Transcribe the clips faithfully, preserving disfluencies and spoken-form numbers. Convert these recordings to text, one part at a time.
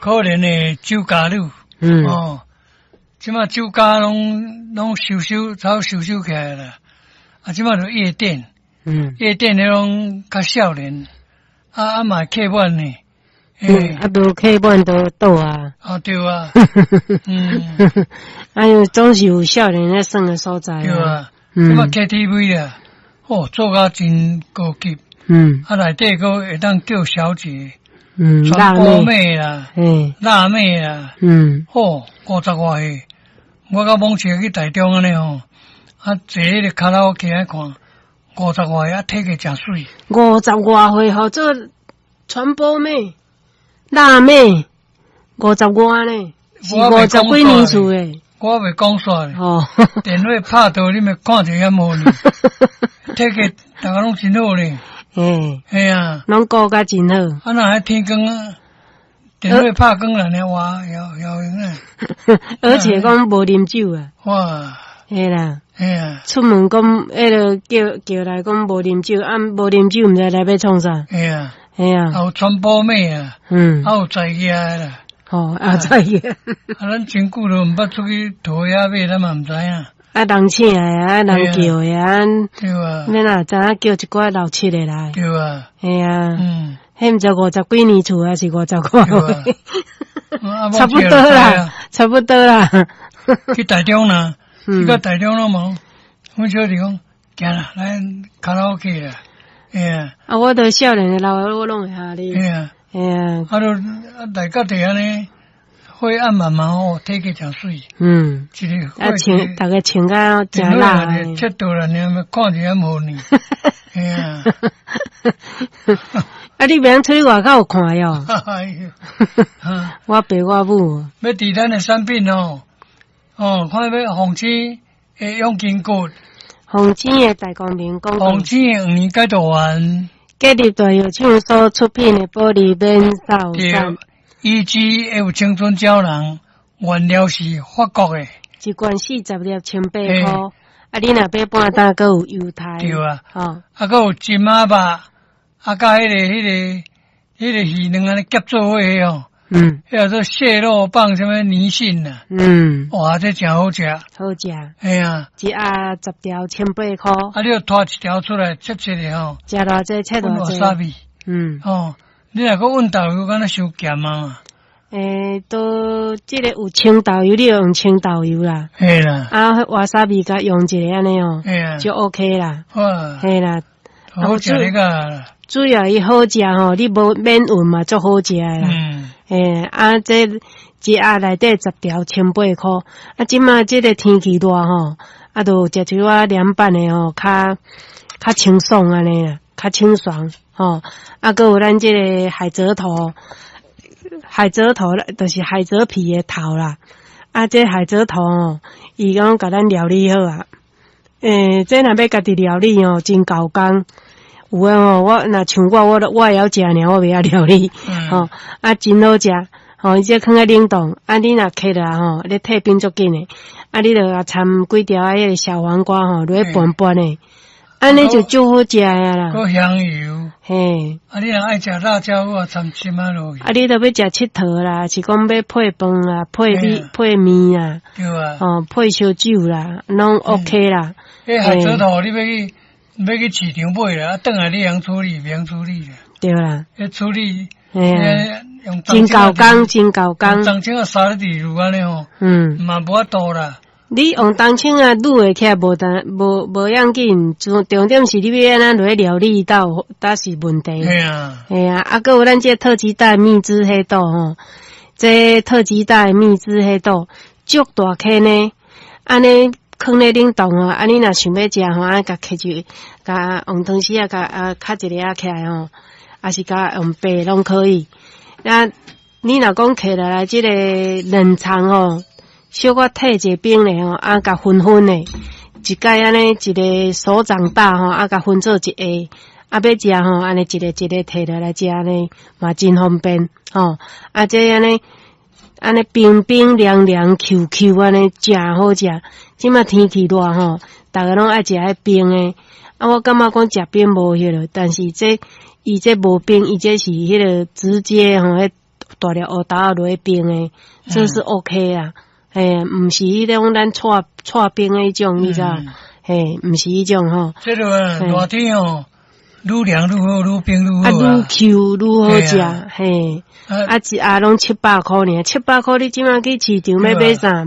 可憐的酒家女。嗯。哦，這馬酒家攏攏收收，早收收起來啦。啊，這馬就夜店。嗯。夜店彼攏較少年，啊啊嘛客滿呢。嗯，啊無客滿都倒啊。啊對啊。嗯。哎喲，總是有少年咧耍的所在。對啊。嗯。這馬 K T V 啊，哦，做甲真高級。嗯。啊，內底閣會當叫小姐。嗯。傳播妹啦。嗯。辣妹啦。嗯。哦，五十外歲，我甲罔車去台中按呢吼，啊，坐彼个卡拉 OK 來看，五十外歲啊，體格誠媠。五十外歲號做傳播妹、辣妹，五十外呢？是五十幾年厝的。我袂講煞咧。哦。電話拍到你咪看著遐無呢？體格逐家攏真好咧。嘿。嘿啊。攏顧甲真好。啊，若彼天光啊，電話拍光了呢，哇，搖搖閒啊。而且講無啉酒啊。哇。嘿啦。嘿啊。出門講，彼个叫叫來講無啉酒，啊無啉酒，毋知來欲創啥。嘿啊。嘿啊。還有傳播妹啊。嗯。還有在業的啦。哦，啊在業。啊，咱真久都毋捌出去塗遐買，咱嘛毋知影。啊，人請的啊，人叫的啊。對啊。你若知影叫一寡老七的來。對啊。嘿啊。嗯。彼毋知五十幾年厝，還是五十外歲？差不多啦，差不多啦。去台中啦，去到台中攏無，阮小弟講，行啦，來卡拉 OK 啦，嘿啊。啊，我都少年的老我攏會哈哩。嘿啊。嘿啊。啊，都來到佇按呢，灰暗茫茫哦，體格誠媠。嗯。一个啊，穿，逐家穿甲誠辣。切倒啦，爾看著遐無呢。嘿啊。啊，你袂晓出去外口有看喲？哎喲，我爸我母。欲佇咱的產品哦，哦，看欲鳳青的養筋骨，鳳青的大光明廣告。鳳青的黃連解毒丸，建立大藥廠所出品的保利免掃對，E G F 青春膠囊，原料是法國的，一罐四十粒，千八箍。啊，你若買半打，閣有優待。對啊，哦，啊，閣有金仔肉，啊，佮彼个、彼个、彼个魚卵按呢夾做伙哦。嗯。彼个做蟹肉棒，啥物泥蕈啊？嗯。哇，這誠好食。好食。嘿啊。一盒十條，千八箍。啊，你著拖一條出來，切切的吼。食偌濟，切偌濟。沙味。嗯。哦，你若閣溫豆油，敢若傷鹹啊？欸，都這个有清豆油，你就用清豆油啦。嘿啦。啊，瓦薩比共用一个按呢哦，就 OK 啦。哇。嘿啦。好食那個。主要伊好食吼，你無免溫嘛，足好食的啦。嗯。欸，啊，這一盒內底十條，千八箍。啊，這馬這个天氣熱吼，啊，就食一寡涼拌的吼，較較清爽按呢啦，較清爽吼。啊，閣有咱這个海蜇頭。海蜇頭就是海蜇皮的頭啦，啊，這海蜇頭哦，伊講共咱料理好啊。欸，這若欲家己料理哦，真猴工。有的吼，我若像我，我我會曉食爾，我袂曉料理。吼，啊，真好食。吼，伊這囥佇冷凍，啊，你若揢落吼，咧退冰足緊的。啊，你著共摻幾條啊，彼个小黃瓜吼，落去拌拌的。按呢就足好食的啦。閣香油。嘿。啊，你若愛食辣椒，我摻針仔落去。啊，你著欲食𨑨迌啦，是講欲配飯啊，配米配麵啊。對啊。哦，配燒酒啦，攏 OK 啦。彼海蜇頭，你欲去欲去市場買啦，啊，轉來你會曉處理，袂曉處理啦。對啦。彼處理，嘿啊。用真猴工，真猴工。冬青仔沙咧佇滷按呢吼。嗯。嘛無法度啦。你用冬青仔滷會起來無但無無要緊，重重點是你欲按怎落去料理到，才是問題。嘿啊。嘿啊，啊，閣有咱這特級大蜜汁黑豆吼，這特級大蜜汁黑豆足大顆呢，按呢囥咧冷凍吼，啊，你若想欲食吼，啊，共揢一，共用湯匙仔共啊，敲一个仔起來吼，抑是共用掰攏可以。啊，你若講揢落來這个冷藏吼，小可退一冰咧吼，啊，共分分的，一擺按呢一个手掌大吼，啊，共分做一下，啊，欲食吼，按呢一个一个提落來食呢，嘛真方便吼。啊，這按呢按呢冰冰涼涼、Q Q 按呢，誠好食。這馬天氣熱吼，逐家攏愛食彼冰的。啊，我感覺講食冰無彼囉，但是這伊這無冰，伊這是彼个直接吼，彼大粒烏豆仔落去冰的，這是 OK 啊。嘿，毋是彼種咱搓搓冰的彼種，你知？嘿，毋是彼種吼。這個熱天吼，愈涼愈好，愈冰愈好。啊，愈 Q 愈好食，嘿。啊，一盒攏七百箍爾，七百箍你這馬去市場欲買啥？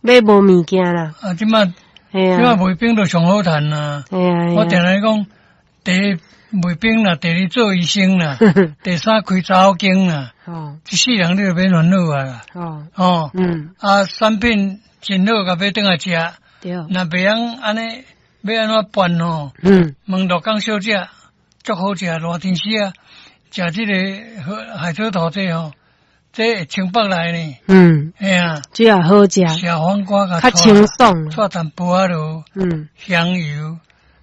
買無物件啦。啊，這馬，這馬賣冰都上好趁啊。我定定講，第一賣冰啦，第二做醫生啦，第三開查某間啦。哦。這四樣你就免煩惱啊。哦。哦。嗯。啊，產品真好，共買轉來食。對。若袂曉按呢，欲按怎辦吼？嗯。問鹿港小姐，足好食，熱天時啊，食這个海蜇頭這吼，這會清腹來呢。嗯。嘿啊。這也好食。小黃瓜共較清爽。帶淡薄仔落。嗯。香油，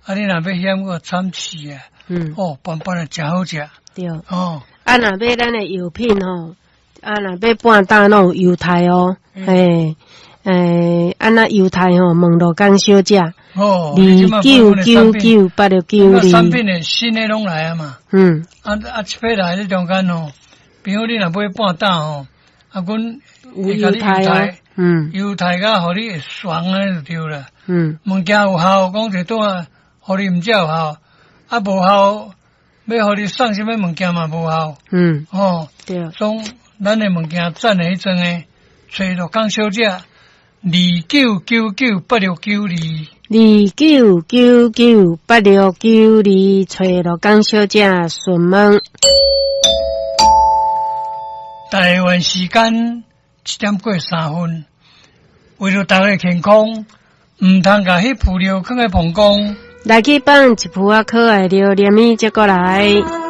啊，你若欲餡閣摻翅啊。嗯。哦，拌拌的誠好食。對。哦。啊，若買咱的藥品吼，啊，若買半擔攏有優待哦，嘿，欸，啊，若優待吼，問鹿港小姐，哦，二九九九八六九二。產品的新的攏來啊嘛。嗯。啊啊，這批來這中間吼，比如你若買半擔吼，啊，阮有優待哦，嗯，優待甲予你會爽按呢就對啦。嗯。物件有效，講一拄啊，予你毋才有效，啊無效，欲予你送啥物物件嘛無效。嗯。哦。對。總咱的物件讚的彼陣的，揣鹿港小姐，二九九九八六九二。二九九九八六九二，揣鹿港小姐詢問。台灣時間七點過三分，為著大家健康，毋通共彼浮料囥佇膀胱。來去放一浮仔可愛著連伊接過來。